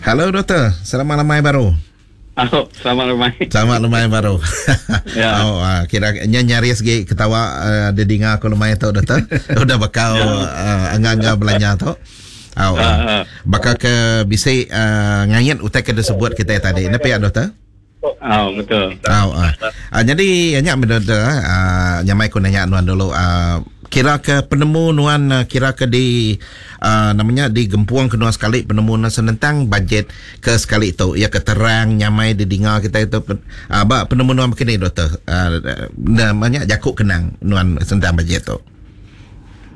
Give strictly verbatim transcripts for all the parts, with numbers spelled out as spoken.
Hello doktor, selamat lemai baru. Oh, selamat lemai. Selamat lemai baru. Ya. Oh, uh, kira nya nyaris gi ketawa uh, didinga aku lemai tu doktor. Udah bakal Ya. uh, angga-angga belanja tu. Oh, uh, Ah, ah. bakal ke bisi uh, ngayit utai ke disebut kita tadi. Ni pihak doktor? Oh, betul. Oh, uh. Uh, jadi nya doktor, uh, nyamai ku nanya nuan dulu. Uh, kira ke penemu nuan uh, kira ke di uh, namanya di gempuang ke nuan sekali penemu nuan senentang bajet ke sekali tu ya ke terang nyamai didinga kita itu uh, ba penemu nuan begini doktor, uh, namanya jakuk kenang nuan senentang bajet tu.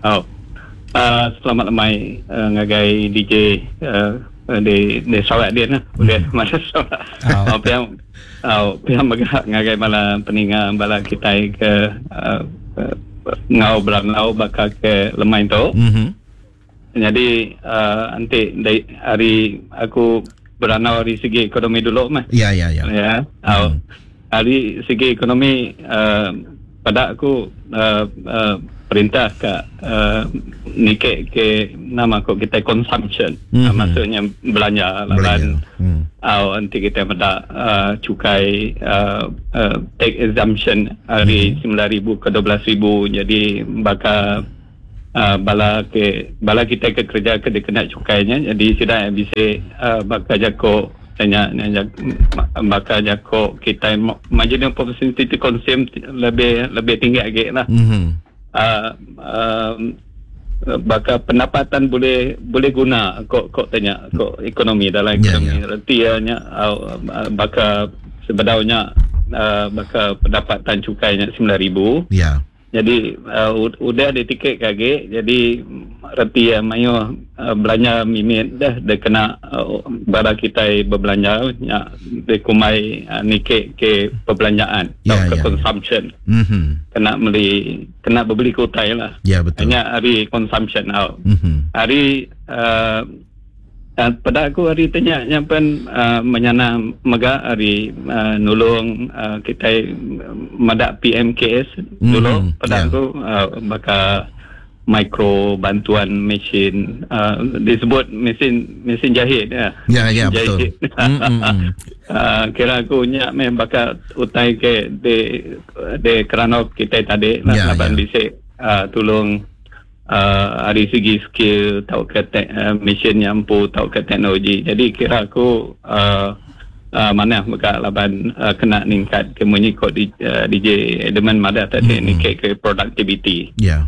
Oh. Uh, selamat lemai uh, ngagai D J uh, di di Sarawak dia nah. Boleh Hmm. masa Sarawak. Oh. Oh, pihak, oh, pihak megah ngagai bala peninga bala kita ke uh, uh, ngau beranau bakal ke lemai tu. Mhm. Jadi uh, nanti dari hari aku beranau dari segi ekonomi dulu mah. Ya ya ya. Ya. Oh. Hmm. Dari segi ekonomi uh, pada aku uh, uh, perintah ke uh, nikek ke nama ko kita consumption. Mhm. Uh, maksudnya belanja lah Belanja. kan. Hmm. Uh, nanti kita pada uh, cukai uh, uh, tax exemption hari Mhm. sembilan ribu ke dua belas ribu. Jadi bakal uh, bala ke bala kita ke kerja ke dia kena cukainya. Jadi sudah bisa uh, bakal jako tanya tanya bakal jako kita marginal propensity to consume lebih lebih tinggi lagi lah. Mhm. Uh, um, bakal pendapatan boleh boleh guna kok kok tanya kok ekonomi dalam Ya, ekonomi ya. reti nya uh, bakal sebedaunya uh, bakal pendapatan cukainya sembilan ribu. Ya. Jadi uh, u-, udah di tiket kage jadi reti ya mayo uh, belanja mimit dah dia kena uh, bara kita berbelanja nya dia kumai uh, nikek ke perbelanjaan Ya, atau ya, ke ya. consumption. Mhm. Kena beli kena berbeli kutai lah. Ya betul. Hanya hari consumption out. Mhm. Hari uh, uh, pada aku hari tanya nyampen uh, menyana mega hari uh, nulung uh, kita madak P M K S dulu Mhm, pada ya. aku uh, bakal mikro bantuan mesin uh, disebut mesin mesin jahit ya. Ya, ya, Mesin betul. jahit. Mm, mm, mm. Uh, kira aku nyak meh bakal utai ke de de kerana kita tadi lah Ya, laban ya. bisik uh, tolong uh, dari segi skill atau ke te- uh, mesin yang empu atau ke teknologi. Jadi kira aku uh, uh, mana mega laban uh, kena ningkat ke munyi kod di, uh, D J Edelman madah tadi Mm-mm. ningkat ke productivity. Ya.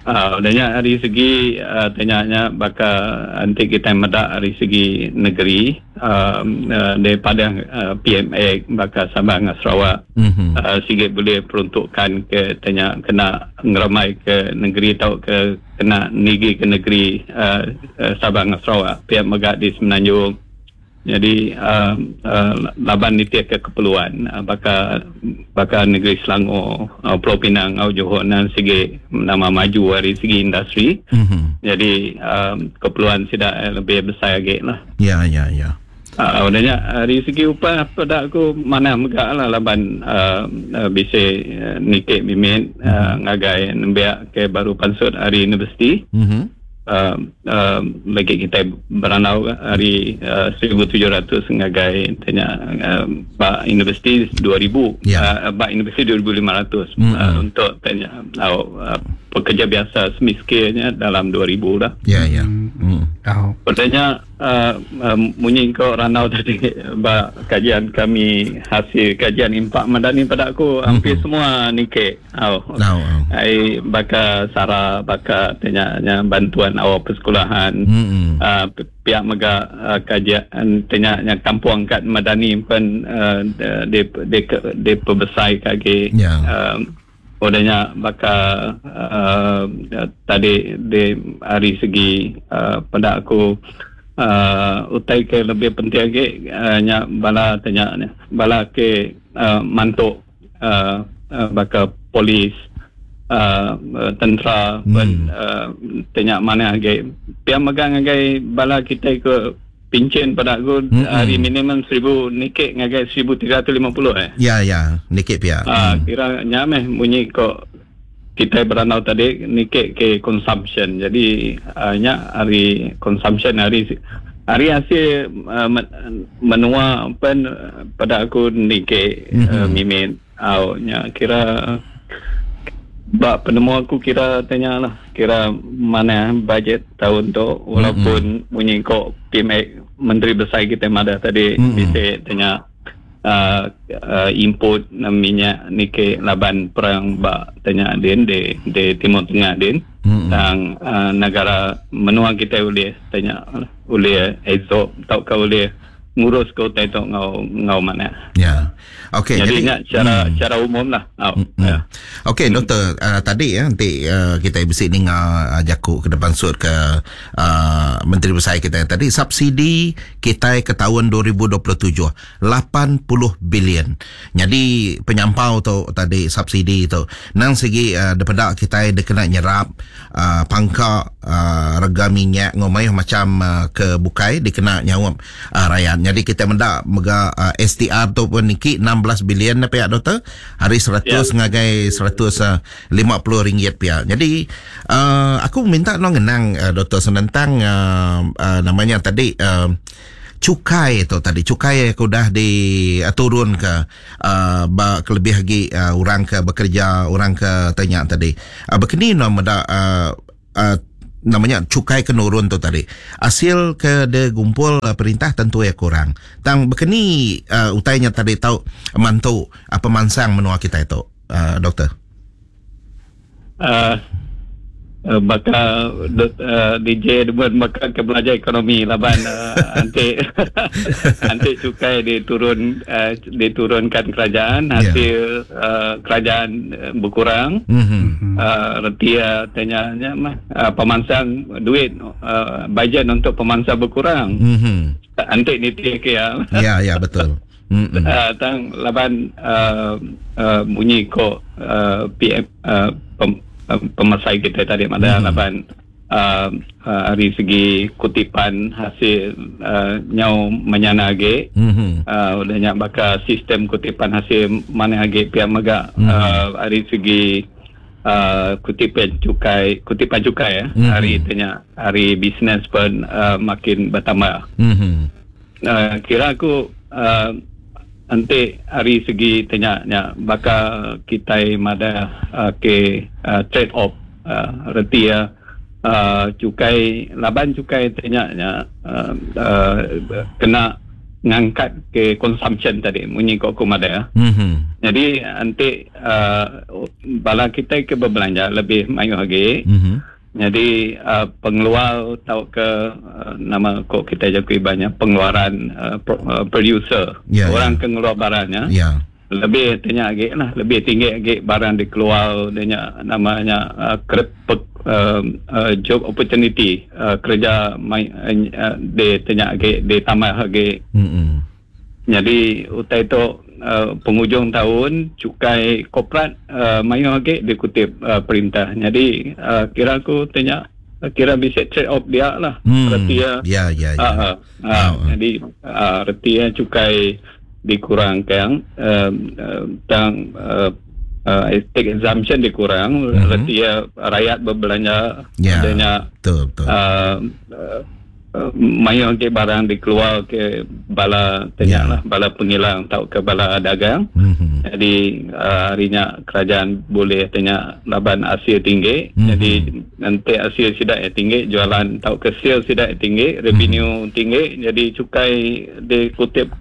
Uh, udahnya dari segi uh, tanyanya bakal nanti kita medak dari segi negeri um, uh, daripada uh, P M A bakal Sabah dengan Sarawak. Mhm. Uh, sikit boleh peruntukkan ke tanya kena ngeramai ke negeri atau ke kena nigi ke negeri uh, uh, Sabah dengan Sarawak pihak megak di Semenanjung. Jadi uh, uh, laban ni tiap ke keperluan uh, bakal bakal negeri Selangor, uh, Pulau Pinang, uh, Johor dan segi nama maju dari segi industri. Mhm. Jadi um, keperluan tidak lebih besar lagi lah. Ya ya ya. Ah, uh, dari segi upah pada aku mana megak lah laban uh, uh, bisa uh, nikik mimit uh, ngagai nembiak ke baru pansut hari universiti. Mhm. Uh, uh, lagi kita beranau hari uh, seribu tujuh ratus ngagai tanya uh, bak universiti dua ribu. Ya. Uh, bak universiti dua ribu lima ratus, Mm-mm. uh, untuk tanya uh, uh, pekerja biasa semiskilnya dalam dua ribu lah. Ya ya. Mm. Oh. Pertanyaan uh, uh, munyi kau ranau tadi bak kajian kami hasil kajian impak madani pada aku hampir Mhm. semua nikek. Oh. Tahu. Ai baka sara baka tanya bantuan awal persekolahan. Mhm. Uh, pihak mega uh, kajian tanya kampung kat madani pun uh, di di di perbesar kaki. Ya. Um, odanya baka uh, tadi di hari segi uh, pada aku uh, utai ke lebih penting lagi uh, nya bala tanya ni bala ke uh, mantuk uh, uh, baka polis uh, uh, tentera Hmm. pun uh, tanya mana lagi pihak megang ngagai bala kita ke pincin pada aku Mm-mm. hari minimum seribu nikik ngagai seribu tiga ratus lima puluh eh. Ya ya, nikik pihak. Ah, Mm. kira nyameh bunyi kok kita beranau tadi nikik ke consumption. Jadi uh, nya hari consumption hari Hari hasil uh, menua pen pada aku nike mm-hmm. uh, mimin au nya kira ba penemu aku kira tanya lah kira mana bajet tahun tu walaupun mm-hmm. bunyi ko P M A Menteri Besar kita madah tadi mm-hmm. bisa tanya uh, uh, input minyak nike laban perang ba tanya din di di Timur Tengah din mm-hmm. tang uh, negara menua kita boleh tanya boleh absorb atau kau boleh ngurus ke utai tu ngau ngau mana. Ya. Okey, jadi nya cara hmm. cara umum lah. Oh, hmm. Ya. Okey, hmm. Doktor, uh, tadi ya nanti uh, kita bisi ninga uh, jaku ke depan sud ke uh, Menteri Besar kita yang tadi subsidi kita ke tahun dua ribu dua puluh tujuh lapan puluh bilion. Jadi penyampau tu tadi subsidi tu nang segi uh, daripada kita dia kena nyerap uh, pangka uh, rega minyak ngomai macam uh, ke bukai dikena nyawap uh, rakyat. Jadi kita mendak mega uh, S T R tu pun niki enam belas bilion na pihak doktor hari seratus yeah. ngagai seratus lima puluh ringgit pihak. Jadi uh, aku minta no ngenang uh, doktor senentang uh, uh, namanya tadi uh, cukai tu tadi cukai aku dah di uh, turun ke uh, ba, kelebih lagi uh, orang ke bekerja orang ke tanya tadi uh, begini no mendak uh, uh, namanya cukai kenurun tu tadi hasil ke de gumpul uh, perintah tentu ya kurang tang bekeni uh, utainya tadi tau mantu apa uh, pemansang menua kita itu uh, doktor uh, uh, bakal uh, D J buat bakal ke belajar ekonomi laban uh, anti anti cukai diturun uh, diturunkan kerajaan hasil yeah. uh, kerajaan uh, berkurang mm-hmm. uh, retia tanya mah uh, pemansang duit uh, bajet untuk pemansang berkurang mm-hmm. anti niti ke ya ya ya betul. Mm-hmm. Uh, tang laban uh, uh, bunyi ko uh, P M uh, pem, pemasai kita tadi ada hmm. laban uh, uh, dari segi kutipan hasil uh, nyau menyana age mm-hmm. uh, udah nyak bakal sistem kutipan hasil mana age pihak mega mm-hmm. uh, dari segi uh, kutipan cukai kutipan cukai ya mm-hmm. hari tanya hari bisnes pun uh, makin bertambah mm-hmm. uh, kira aku uh, nanti hari segi tanya nya bakal kita mada uh, ke uh, trade off uh, reti ya uh, cukai laban cukai tanya nya uh, uh, kena ngangkat ke consumption tadi munyi kok aku mada ya. Mm-hmm. Jadi nanti uh, bala kita ke berbelanja lebih mayu lagi. Mm-hmm. Jadi uh, pengeluar atau ke uh, nama kok kita jakui banyak pengeluaran uh, pro, uh, producer yeah, orang yeah. ke ngeluar barangnya yeah. lebih tanya lagi lah lebih tinggi lagi barang dikeluar dia namanya uh, kerep, uh, uh, job opportunity uh, kerja mai uh, dia tanya lagi dia tambah lagi. Mm-hmm. Jadi utai tu Uh, penghujung tahun cukai korporat uh, mayu lagi dikutip uh, perintah. Jadi uh, kira aku tanya uh, kira bisa trade off dia lah. Hmm. Reti ya. Ya ya ya. Uh, uh, uh, oh. Jadi uh, reti ya cukai dikurangkan uh, uh, tang uh, uh, tax exemption dikurang mm-hmm. reti ya rakyat berbelanja ya. Adanya betul betul. Uh, uh, mayu ke barang dikeluar ke bala tanya yeah. lah bala pengilang atau ke bala dagang. Mm-hmm. Jadi uh, harinya kerajaan boleh tanya laban hasil tinggi. Mm-hmm. Jadi nanti hasil sidak yang tinggi jualan atau ke sales sidak yang tinggi revenue mm-hmm. tinggi jadi cukai dikutip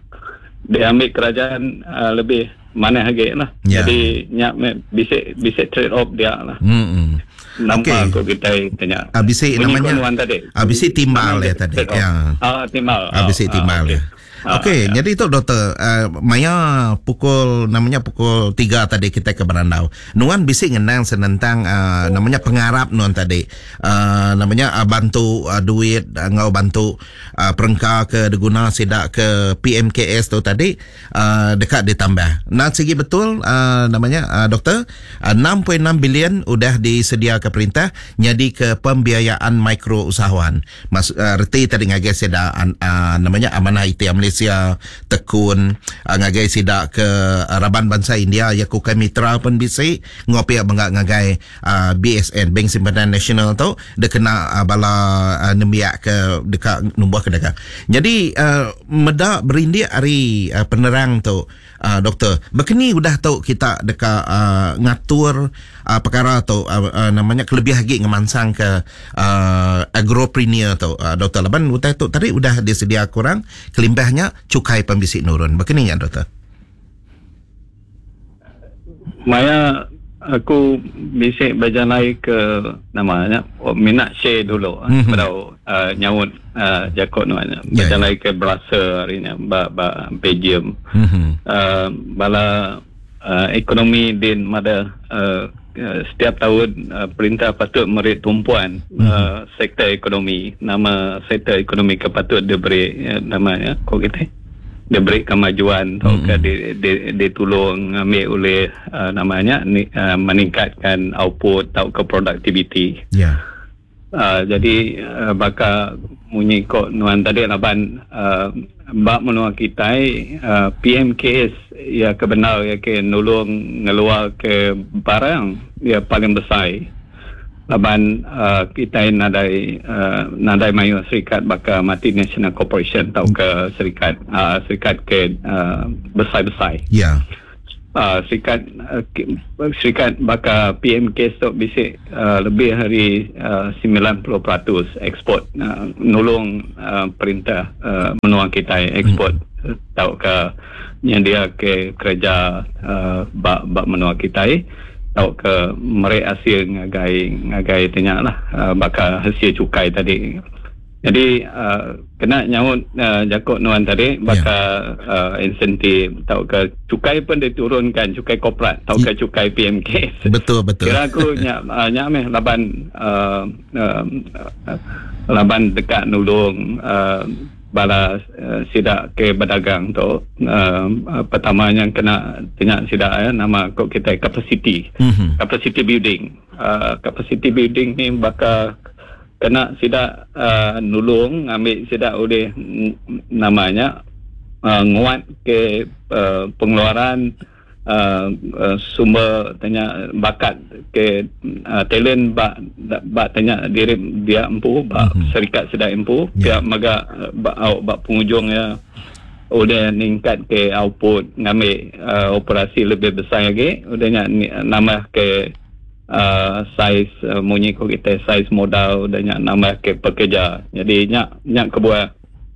diambil kerajaan uh, lebih mana harga lah. Yeah. Jadi nyak bisa bisa trade off dia lah. Mm-hmm. Nampak okay. aku kita tanya. Abisi namanya tadi. Abisi timbal ya tadi. Ya. Ah timbal. Abisi timbal ah, ya. Okey, ah, jadi itu doktor uh, maya pukul namanya pukul tiga tadi kita ke Berandau. Nuan bisi ngenang senentang uh, namanya pengarap nuan tadi. Uh, namanya uh, bantu uh, duit uh, ngau bantu uh, perengka ke diguna sidak ke P M K S tu tadi uh, dekat ditambah. Nah segi betul uh, namanya uh, doktor uh, enam perpuluhan enam bilion udah disediakan ke perintah nyadi ke pembiayaan mikro usahawan. Mas uh, reti tadi ngagai sida uh, namanya Amanah I T Malaysia, Tekun, uh, ngagai sida ke uh, raban bangsa India ya ku kai mitra pun bisi ngopi bangga ngagai uh, B S N Bank Simpanan Nasional tu dekena uh, bala uh, nembiak ke dekat numbuh ke dagang. Jadi uh, meda berindik hari uh, penerang tu uh, doktor, bekeni udah tu kita deka uh, ngatur uh, perkara tu uh, uh, namanya kelebih lagi ngemansang ke uh, agropreneur tu uh, doktor. Laban utai tu tadi udah disedia kurang kelimbahnya cukai pembisik nurun. Bekeni ya doktor? Maya aku bisik berjalan ke namanya minat share dulu mm-hmm. pada uh, nyaut uh, jakot nuan berjalan yeah, yeah. ke Brussels hari ni ba ba Belgium mm-hmm. uh, bala uh, ekonomi din mada uh, setiap tahun uh, perintah patut meri tumpuan mm-hmm. uh, sektor ekonomi, nama sektor ekonomi ke patut diberi uh, namanya kok kita diberi kemajuan atau mm-hmm. ke di, di, ditolong ambil oleh uh, namanya ni, uh, meningkatkan output atau ke productivity. Ya. Yeah. Uh, jadi uh, bakal munyi kok nuan tadi laban uh, bab menua kita uh, P M K S ya kebenar ya ke nulung ngeluar ke barang ya paling besar. Laban uh, kita nadai uh, nadai mayu serikat baka multinational corporation atau ke serikat uh, serikat ke uh, besar-besar. Ya. Yeah. Uh, serikat uh, serikat baka P M K tu bisik uh, lebih hari uh, sembilan puluh peratus ekspor uh, nulung uh, perintah uh, menua kita ekspor mm. atau ke nyendia ke kerja uh, bak bak menua kita atau ke merek hasil ngagai ngagai tanya lah uh, bakal hasil cukai tadi. Jadi uh, kena nyaut uh, jakot nuan tadi bakal yeah. uh, insentif atau ke cukai pun diturunkan, cukai korporat atau ke cukai P M K. Betul betul. Kira aku nyak uh, nyak meh laban uh, uh, uh, laban dekat nulung uh, bala uh, sidak ke berdagang tu uh, uh, pertama yang kena tanya sidak ya nama kok kita capacity mm-hmm. capacity building uh, capacity building ni bakal kena sidak uh, nulung ambil sidak oleh namanya uh, nguat ke uh, pengeluaran uh, uh, sumber tanya bakat ke uh, talent bak bak tanya diri dia empu bak mm-hmm. serikat sidak empu yeah. Pihak maga bak bak penghujung ya udah ningkat ke output ngambil uh, operasi lebih besar lagi udah nya nambah ke uh, saiz uh, munyi ko kita saiz modal udah nya nambah ke pekerja. Jadi nya nya kebuah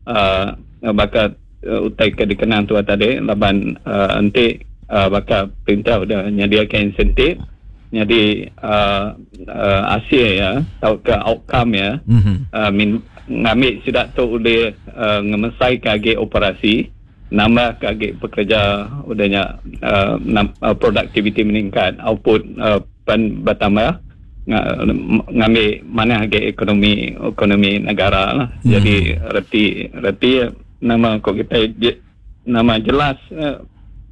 uh, bakat uh, utai ke dikenang tua tadi laban uh, enti Uh, bakal perintah udah nyediakan insentif jadi uh, uh, hasil ya atau ke outcome ya mm-hmm. uh, min, ngambil sidak tu boleh uh, ngemesai kage operasi nambah kage pekerja udahnya uh, nam, uh, productivity meningkat output uh, pen bertambah ngambil mana harga ekonomi ekonomi negara lah. Mm-hmm. Jadi reti reti nama kok kita je, nama jelas uh,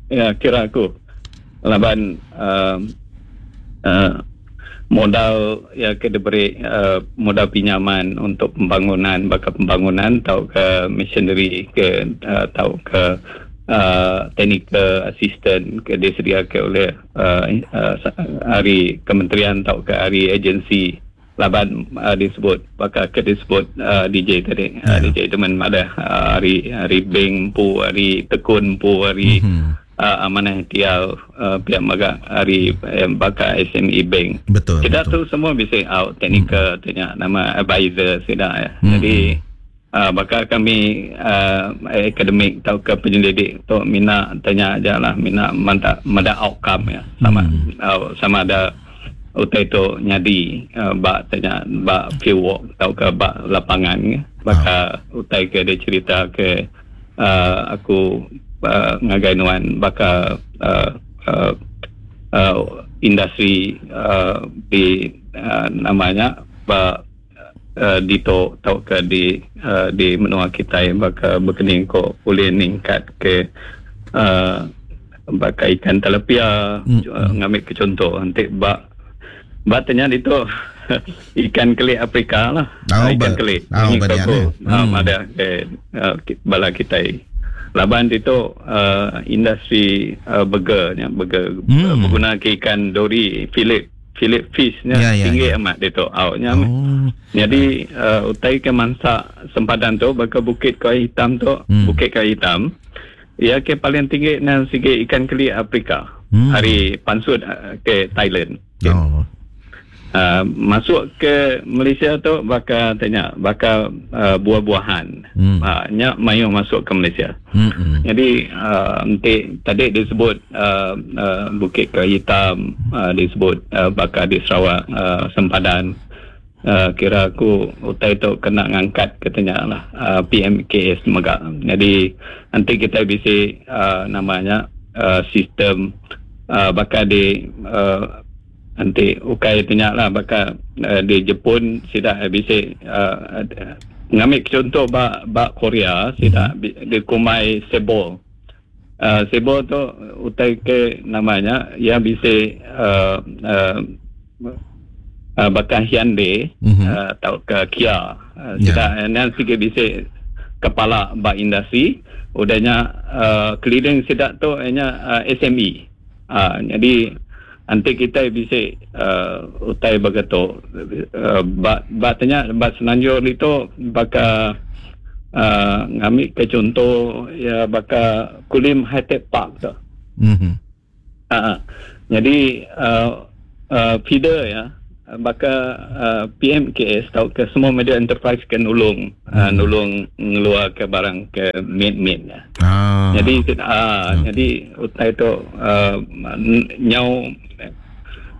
ya kira aku laban uh, uh, modal ya ke diberi uh, modal pinjaman untuk pembangunan bakal pembangunan atau ke machinery ke uh, atau ke uh, technical assistant ke disediakan oleh uh, uh, hari kementerian atau ke hari agensi laban uh, disebut bakal ke disebut uh, D J tadi yeah. uh, D J teman ada uh, hari hari bank pu hari tekun pu hari mm-hmm. uh, amanah tial uh, pihak maga hari eh, bakal S M E bank. Betul. Kita betul. Tu semua bisa out technical mm-hmm. tanya nama advisor sudah ya. Mm-hmm. Jadi uh, bakal kami uh, akademik atau ke penyelidik tu minat tanya aja lah minat manda manda outcome ya sama mm-hmm. uh, sama ada utai tu nyadi uh, bak tanya bak field work atau ke bak lapangan ya. Bakal oh. utai ke dia cerita ke uh, aku uh, ngagai nuan bakal uh, uh, uh, industri uh, di uh, namanya bak uh, di to atau ke di uh, di menua kita bakal berkening ko boleh ningkat ke uh, bakal ikan tilapia Mm. uh, ngambil ke contoh nanti bak Batanya itu ikan keli Afrika lah. Oh, ikan ba- keli. oh, Ini ba dia aku, ni. ah, Hmm. ada ke uh, bala kita. Laban itu uh, industri uh, burger nya burger Hmm. uh, berguna ke ikan dori fillet fillet fish nya Ya, ya, tinggi ya. amat itu outnya. Oh. Jadi uh, utai ke mansa sempadan tu baka bukit kayu hitam tu, Hmm. bukit kayu hitam. Ia ke paling tinggi nan segi ikan keli Afrika. Hmm. Hari pansut uh, ke Thailand. Okay. Oh. Uh, masuk ke Malaysia tu bakal tanya bakal uh, buah-buahan. Hmm. Uh, nya mayu masuk ke Malaysia. Hmm. hmm. Jadi uh, nanti tadi disebut uh, uh, Bukit Kayu Hitam, uh, disebut uh, bakal di Sarawak uh, sempadan. Uh, kira aku utai tu kena ngangkat katanya lah uh, P M K S mega. Jadi nanti kita bisa uh, namanya uh, sistem uh, bakal di uh, nanti ukai tanya lah bakal uh, di Jepun sidak bisa uh, ngambil contoh bak bak Korea sidak mm-hmm. di kumai sebol. Uh, sebol tu utai ke namanya yang bisa uh, uh, uh, bakal Hyundai Mhm. uh, atau ke Kia. Uh, Ya. sidak yeah. yang sikit bisa kepala bak industri udahnya uh, keliling sidak tu hanya uh, S M E. Uh, jadi nanti kita bisa uh, utai begitu uh, bak bak tanya bak Semenanjung itu bakal uh, ngambil ke contoh ya bakal Kulim High Tech Park tu. Hmm. Uh, jadi uh, uh, feeder ya bakal uh, P M K S atau ke semua media enterprise ke nulung hmm. uh, nulung ngeluar ke barang ke mid-mid ya. Ah. Jadi ah uh, jadi utai tu uh, nyau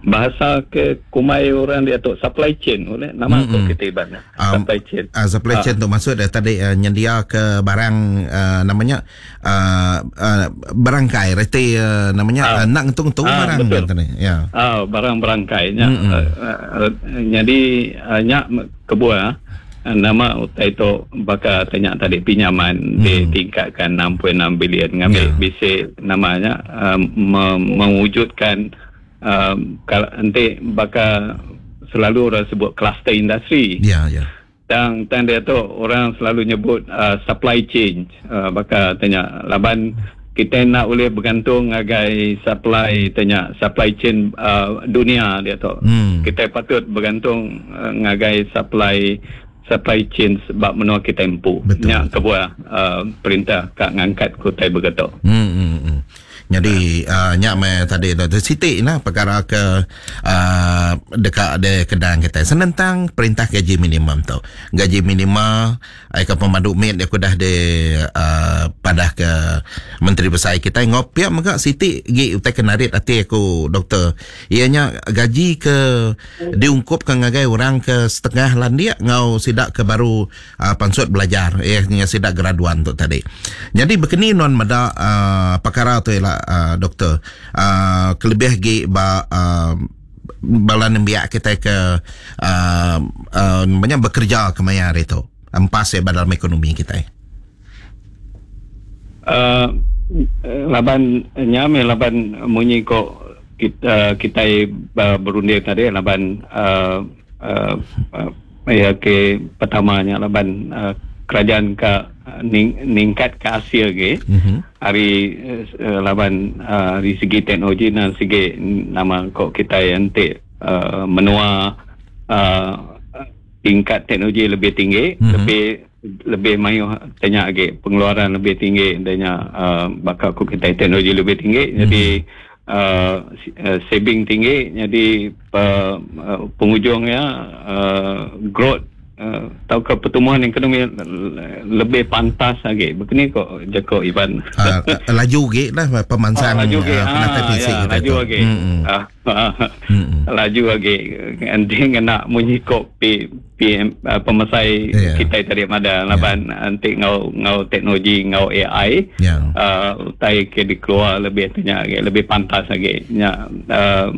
bahasa ke kumai orang dia tu supply chain boleh nama Mm-mm. tu kita iban Um, supply chain. Uh, supply chain tu maksud dia tadi uh, nyendia ke barang uh, namanya uh, uh, berangkai reti uh, namanya Ah. uh, nak ngetung-ngetung Ah, barang betul. kan tadi. Ya. Ah, barang berangkainya. Mm-mm. Uh, uh, jadi uh, nyak kebuah uh, nama utai tu bakal tanya tadi pinjaman mm. ditingkatkan enam perpuluhan enam bilion ngambil Ya. bisa namanya uh, me- mewujudkan um, kalau nanti bakal selalu orang sebut kluster industri. Ya, ya. Dan dan dia tu orang selalu nyebut uh, supply chain uh, bakal tanya laban kita nak boleh bergantung agai supply tanya supply chain uh, dunia dia tu. Hmm. Kita patut bergantung uh, ngagai supply supply chain sebab menua kita empu. Betul, Nyak kebuah uh, perintah kak ngangkat kutai bergetok. Hmm, hmm, hmm. Jadi uh, nyak me tadi Doktor Siti nah perkara ke uh, dekat de kedang kita senentang perintah gaji minimum tu. Gaji minima ai ke pemandu mid aku dah de uh, padah ke Menteri Besar kita ngopiak mega Siti gi utai kenarit hati aku doktor. Ianya gaji ke diungkupkan ngagai orang ke setengah landia ngau sidak ke baru uh, pansut belajar ianya sidak graduan tu tadi. Jadi berkeni non meda uh, perkara tu ialah uh, doktor uh, kelebih gi ba uh, bala nembiak kita ke uh, uh, namanya bekerja ke maya hari tu empas ya dalam ekonomi kita. Uh, laban nyame laban munyi ko kita kita uh, berunding tadi laban uh, uh, uh, ya ke pertamanya laban uh, kerajaan ke ning, ningkat ke Asia ke Mhm. hari uh, laban uh, dari segi teknologi dan segi nama kok kita nanti uh, menua uh, tingkat teknologi lebih tinggi, Mhm. lebih lebih mayu tanya lagi pengeluaran lebih tinggi tanya uh, bakal kok kita teknologi lebih tinggi Mhm. jadi uh, si- uh, saving tinggi jadi uh, uh, penghujungnya uh, growth uh, atau ke pertumbuhan ekonomi lebih pantas lagi. Begini kok Jacob Ivan. Uh, laju ge lah pemansang Ah, laju ge. uh, penatai Ah, fisik ya, kita laju tu. lagi. Mm-mm. Ah, ah, Mm-mm. laju lagi. Nanti kena munyi kok P, P M, uh, pemesai Ya. kita tadi ada laban nanti ngau ngau teknologi ngau A I Ya. uh, utai ke dikeluar lebih tanya lagi, lebih pantas lagi. Ya, uh,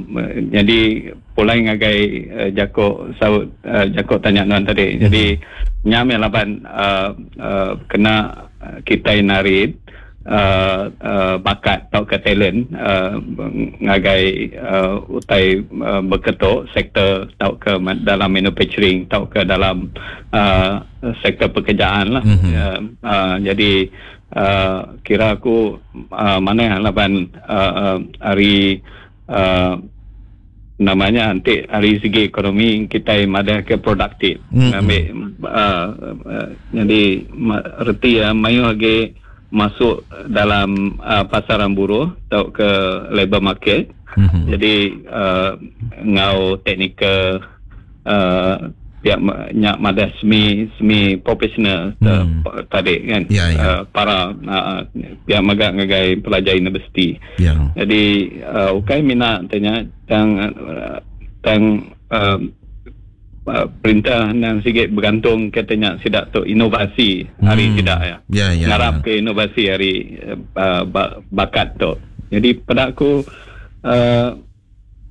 jadi pulai ngagai uh, Jacob saut uh, Jacob tanya nuan tadi. Hmm. Jadi nyame laban uh, uh, kena uh, kita narit uh, uh, bakat atau ke talent uh, ngagai uh, utai uh, berketuk sektor atau ke dalam manufacturing atau ke dalam uh, sektor pekerjaan lah. Mm-hmm. Uh, uh, jadi uh, kira aku uh, mana laban uh, uh, hari uh, namanya nanti hari segi ekonomi kita ada ke produktif. Mm-hmm. Ambil uh, uh, jadi reti ya mayu lagi masuk dalam uh, pasaran buruh atau ke labor market. Mm-hmm. Jadi uh, ngau teknikal uh, pihak nyak madah semi semi profesional mm. tadi kan. Yeah, yeah. Uh, para uh, pihak magak ngagai pelajar universiti. Yeah. Jadi uh, ukai minat tanya tang uh, tang uh, uh, perintah nang sikit bergantung katanya sidak tu inovasi hari hmm. sidak ya. Yeah, yeah, ngarap yeah. ke inovasi hari uh, bakat tu. Jadi pada aku uh,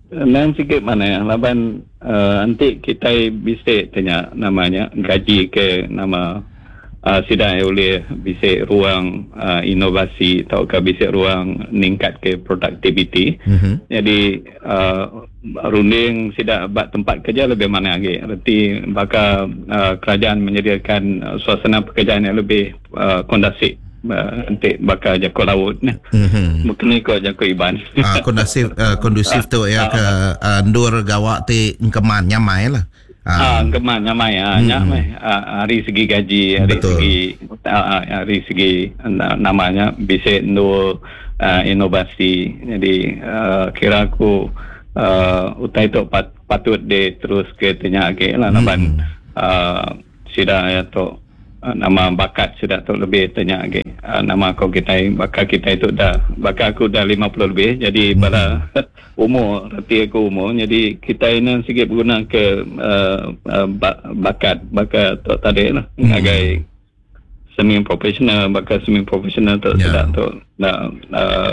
nang sikit mana ya laban uh, nanti kita bisa tanya namanya gaji ke nama uh, sidak boleh bisa ruang uh, inovasi atau ke bisa ruang ningkat ke productivity. Mm-hmm. Jadi uh, runding sidak bak tempat kerja lebih mana lagi. Erti bakal uh, kerajaan menyediakan uh, suasana pekerjaan yang lebih uh, kondusif. Nanti bakal jakut laut ni. Mm-hmm. Mungkin ikut jakut iban. Ah, kondusif uh, kondusif tu ya ke uh, ndur gawak ti engkeman nyamai lah. Ah, engkeman nyamai ah, Mm-hmm. nyamai. Ah, hari segi gaji, hari Betul. segi ah, hari segi namanya bisa ndur uh, inovasi. Jadi uh, kira aku uh, utai tu pat, patut de terus ke tanya lagi lah laban Mm-hmm. uh, sida ya tu nama bakat sudah tu lebih tanya lagi. Uh, nama kau kita bakal kita itu dah bakal aku dah lima puluh lebih jadi hmm. pada umur reti aku umur jadi kita ini sikit berguna ke uh, uh, bakat bakat tu tadi lah hmm. ngagai semi profesional bakal semi profesional tu Ya. sudah tu nak uh,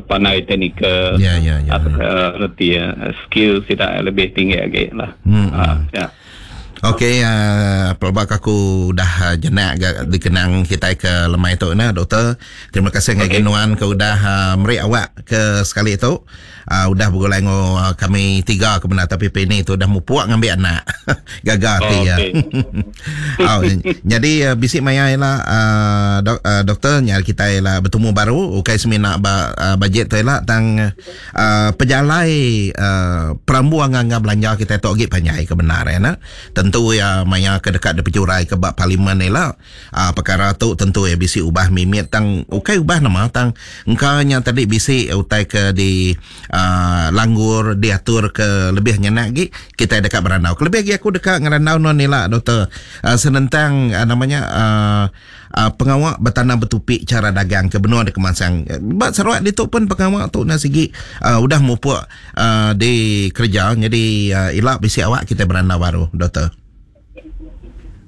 pandai teknikal Ya, ya, ya. atau uh, reti uh, skill sudah lebih tinggi lagi lah. Hmm. Uh, ya. Okey, uh, pelbak aku dah uh, jenak ga, dikenang kita ke lemai tu nah doktor. Terima kasih ngagai Okey. nuan ke udah uh, meri awak ke sekali tu. Uh, udah bergulai ngo uh, kami tiga ke benar tapi P N tu dah mupuak ngambil anak. Gagal Oh, ti ya. okey. Oh, jadi uh, bisik maya ialah uh, dok, uh, doktor nyari kita ialah bertemu baru ukai semina ba, uh, bajet tu ialah tang uh, pejalai uh, perambu angga belanja kita tu agi panjai ke benar ya nak. Tentu ya maya ke dekat de pejurai ke bab parlimen ni lah. Uh, perkara tu tentu ya bisi ubah mimit tang ukai ubah nama tang engkau nya tadi bisi utai ke di uh, langgur diatur ke lebih nyenak lagi kita dekat berandau. Kelebih lagi aku dekat ngerandau non ni lah doktor uh, senentang uh, namanya uh, uh, pengawak bertanam bertupik cara dagang ke benua di Kemansang. Bak Sarawak ditu pun pengawak tu nak segi uh, udah mupuk uh, di kerja jadi uh, ilak bisi awak kita berandau baru doktor.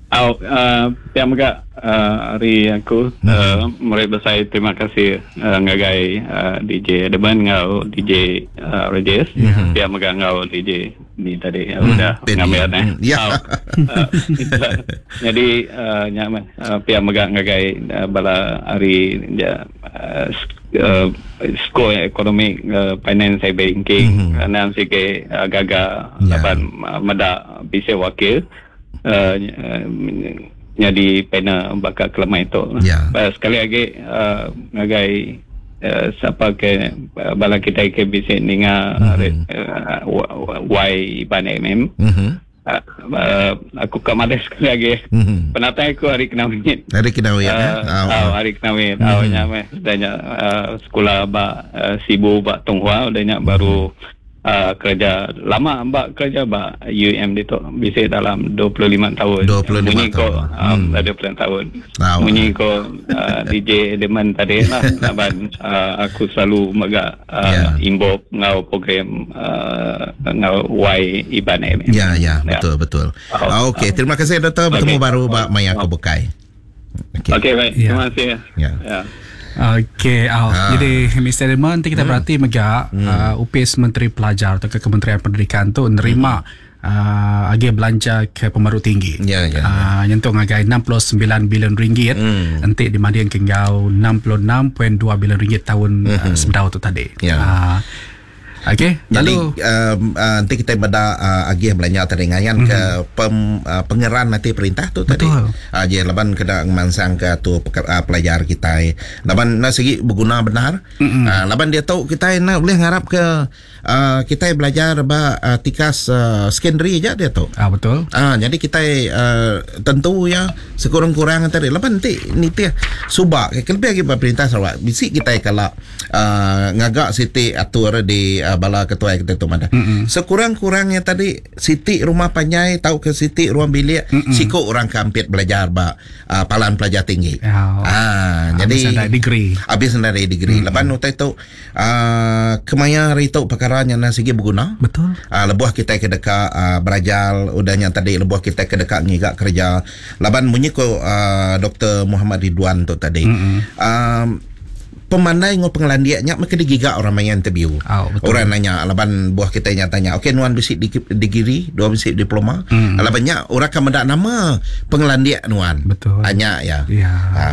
Au, uh, pihak megak uh, hari aku Hmm. uh, meri besar terima kasih uh, ngagai uh, D J Deban ngau D J uh, Rajesh. Mhm. Pihak megak ngau D J ni tadi uh, udah Benny. ngambil eh. Hmm, ya. Au. Uh, jadi uh, nyaman uh, pihak megak ngagai uh, bala hari ja, uh, uh, skor ekonomi uh, finance and banking Mhm. mm-hmm. uh, nang sikit uh, gagal Ya. laban uh, medak bisa wakil uh, uh, jadi panel bakal kelemah itu. Ya. Uh, sekali lagi uh, ngagai uh, siapa ke uh, bala kita ke bisa ninga Mhm. mm-hmm. uh, Y Iban M M. Mhm. Uh, uh, aku ke Malaysia sekali lagi. Mhm. Penatai aku hari kenawit. Hari kenawit Uh, ya. Ah, uh, hari kenawit. Mm-hmm. Uh, nyamai. Dah uh, sekolah ba uh, Sibu ba Tonghua dah nyak baru uh, kerja lama mbak kerja ba U M dia tu bisa dalam dua puluh lima tahun. dua puluh lima Munyi ko tahun. um, Hmm. dua puluh lima tahun. Ah, Munyi ko uh, D J Deman tadi lah laban uh, aku selalu megak uh, Ya. involve ngau program uh, ngau Y Iban M. Ya, ya, betul, betul. Oh. Okey, terima kasih doktor. Bertemu Okey. baru bak Maya Kebukai. Okey. Okey baik. Ya. Terima kasih. Ya. Ya. Okey, oh. Ah. Jadi Mister Edmund, nanti kita hmm. berarti megak hmm. uh, U P S Menteri Pelajar atau ke Kementerian Pendidikan tu nerima hmm. uh, agi belanja ke pemaru tinggi. Ya, ya, uh, nyentuh ngagai enam puluh sembilan bilion ringgit. Hmm. Enti dibanding ke enggau enam puluh enam perpuluhan dua bilion ringgit tahun mm-hmm. uh, sebedau tu tadi. Ya. Uh, Okey, jadi lalu um, uh, nanti kita beda uh, agih belanja tadi ngayan mm-hmm. ke pem, uh, pengeran nanti perintah tu tadi. Betul. Uh, je laban kena ngemansang ke tu uh, pelajar kita. Laban nak segi berguna benar. Mm-hmm. Uh, laban dia tahu kita nak boleh ngarap ke uh, kita belajar ba uh, tikas uh, secondary je dia tu. Ah, betul. Ah, uh, jadi kita uh, tentu ya sekurang-kurang tadi laban nanti nitih subak ke lebih lagi perintah Sarawak. Bisi kita kalau uh, ngagak siti atur di uh, bala ketua kita tu mana. Mm-mm. Sekurang-kurangnya tadi siti rumah panjai tau ke siti ruang bilik Mm-mm. siko orang kampit belajar ba uh, palan pelajar tinggi. Oh. Ah, Habis jadi dari degree. Habis dari degree. Mm-mm. Lepas utai tu uh, kemaya hari tu perkara yang nak segi berguna. Betul. Uh, lebuh kita ke dekat uh, berajal udahnya tadi lebuh kita ke dekat ngigak kerja. Laban munyi ko uh, Doktor Muhammad Ridwan tu tadi. Mm-mm. Um, pemandai ngo pengelandiaknya mereka digigak orang main interview. Oh, betul. Orang nanya laban buah kita nyatanya. Okey nuan bisi di degree, dua bisi diploma. Hmm. Labannya orang akan mendak nama pengelandiak nuan. Betul. Hanya ya. Ya. Ha.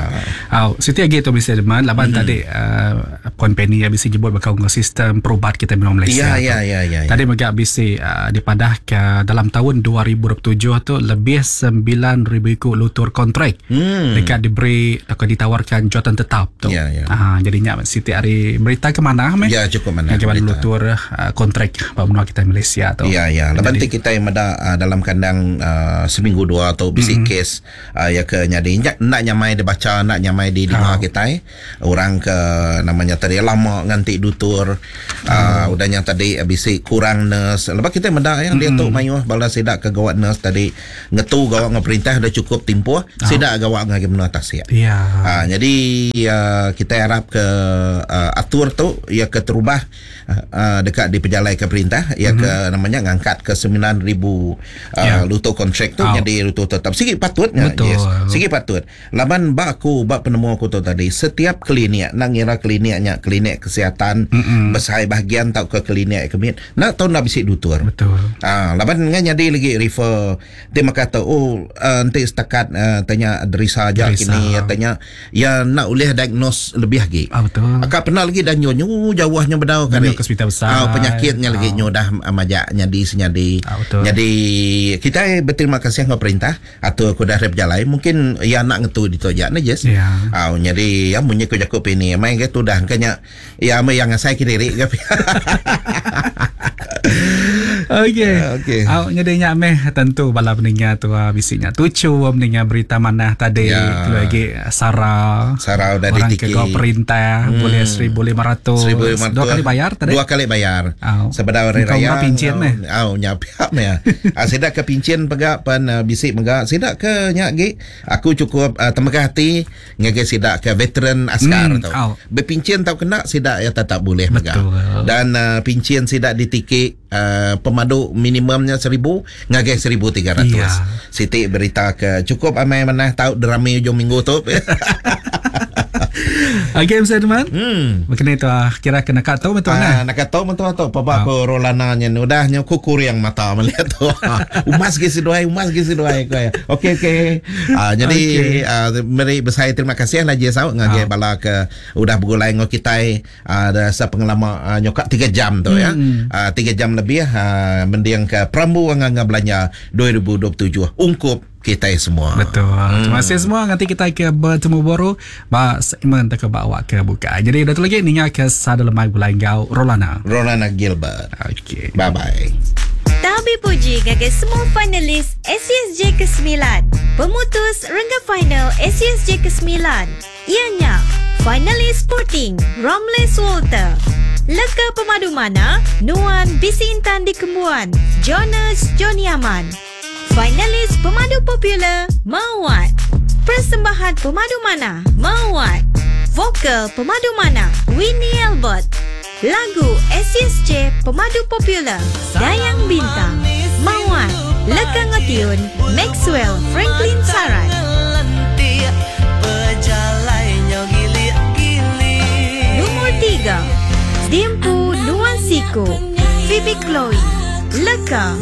Oh, siti lagi tu bisa deman laban Hmm. tadi uh, Puan Penny yang bisi jebut bakal ngau sistem perubat kita memang Malaysia. Ya, ya, ya, ya, ya. Tadi megak bisi uh, dipadah ke dalam tahun dua ribu dua puluh tujuh tu lebih sembilan ribu ikut lutur kontrak. Hmm. Dekat diberi atau ditawarkan jawatan tetap tu. Ya, ya. Ha, jadinya siti hari berita ke mana meh? Ya, cukup mana. Yang berita. lutur uh, kontrak benua kita Malaysia tu. Ya, ya. Lepas Jadi, tu kita yang ada uh, dalam kandang uh, seminggu dua atau bisi mm-hmm. kes uh, ya ke nyadi nak nyamai dibaca, nak nyamai di dengar Oh. kita eh. Orang ke namanya tadi lama nganti dutur. Uh, Oh. Udahnya tadi bisi kurang nurse. Lepas kita meda yang dia Mm-hmm. tu mayuh bala sidak ke gawat nurse tadi ngetu gawat dengan perintah dah cukup timpuh, Oh. sidak gawat dengan menua tasik. Ya. Ha, jadi uh, kita harap ke uh, atur tu ia ke terubah uh, dekat di pejalai ke perintah ia mm-hmm. ke namanya ngangkat ke sembilan ribu uh, Ya. lutu kontrak tu Oh. jadi lutu tetap. Sikit patutnya. Betul. Yes. Sikit patut. Laban bak aku bak penemu aku tu tadi setiap klinik nak ngira kliniknya klinik kesihatan Mm-mm. besar bahagian tau ke klinik kemit nak tahu nak bisik dutur. Betul. Ah, laban ngan jadi lagi refer dia maka kata oh uh, nanti setakat uh, tanya derisa aja Derisa. kini ya, tanya ya nak boleh diagnose lebih lagi. Ah, betul. Akak pernah lagi dan nyo jauhnya bedau Nyo kali. ke hospital besar. Ah, penyakitnya lagi Ah. nyo dah ah, majak nyadi senyadi. Ah, betul. Jadi kita berterima kasih dengan perintah atau aku dah berjalan mungkin ya nak ngetu di tojak ni yes. Ya. Ah, jadi ya munyi ku jakup ini main ke tu dah kanya ya ame yang ngasai kiri ke. Okey. Okey. Au nyadi nya meh tentu bala pendengar tu ah, bisinya tucu mendengar berita manah tadi Ya. tu lagi Sarah. Sarah udah orang ditiki. ke kau perintah hmm. boleh seribu lima ratus. seribu lima ratus. Dua kali bayar tadi. Dua kali bayar. Au. Sebedau hari Kau raya. murah pincin meh. Au nyapiap meh. Ah sidak ke pincin pegak pan uh, bisik megak sidak ke nyak gi. Aku cukup uh, temegah hati ngagai sidak ke veteran askar Hmm, tu. au. Berpincin tau kena sidak ya tetap boleh megak. Betul. Dan uh, pincin sidak ditikik uh, pemadu minimumnya seribu ngagai seribu tiga ratus. Ya. Siti berita ke cukup amai manah tau derami hujung minggu tu. Okey, Mister Edmund. Hmm. Begini tu ah, kira kena kat tu betul Ah, nah. nak kata betul tu papa ko Rolana nya udah nya ku kuriang mata melihat tu. Umas ge seduai, umas ge seduai ko ya. Okey okey. Ah jadi Okey. ah, meri besar terima kasih lah je saut ngagai Ah. bala ke udah bergulai ngau kita ah dah sepengelama ah, nyokak tiga jam tu ya. Hmm. Ah tiga jam lebih ah, mendiang ke Perambu Nganga Belanja dua ribu dua puluh tujuh ungkup kita semua. Betul. Hmm. Terima kasih semua. Nanti kita ke bertemu baru ba segmen tak bawa ke buka. Jadi dah tu lagi ninga ke sada lemai bulan gau Rolana. Rolana Gilbert. Okey. Bye bye. Tabi puji gagai semua finalis S C S J kesembilan. Pemutus rengga final S C S J kesembilan. Ianya finalis Sporting Ramles Walter. Leka pemadu mana Nuan Bisi Intan di Kembuan Jonas Johnny Aman. Finalis pemadu popular Mawat. Persembahan pemadu mana Mawat. Vokal pemadu mana Winnie Albert. Lagu S C S J pemadu popular Dayang Bintang Mawat. Leka Ngotiun Maxwell Franklin Sarat. Nombor tiga Dimpu Nuan Siku Phoebe Chloe. Leka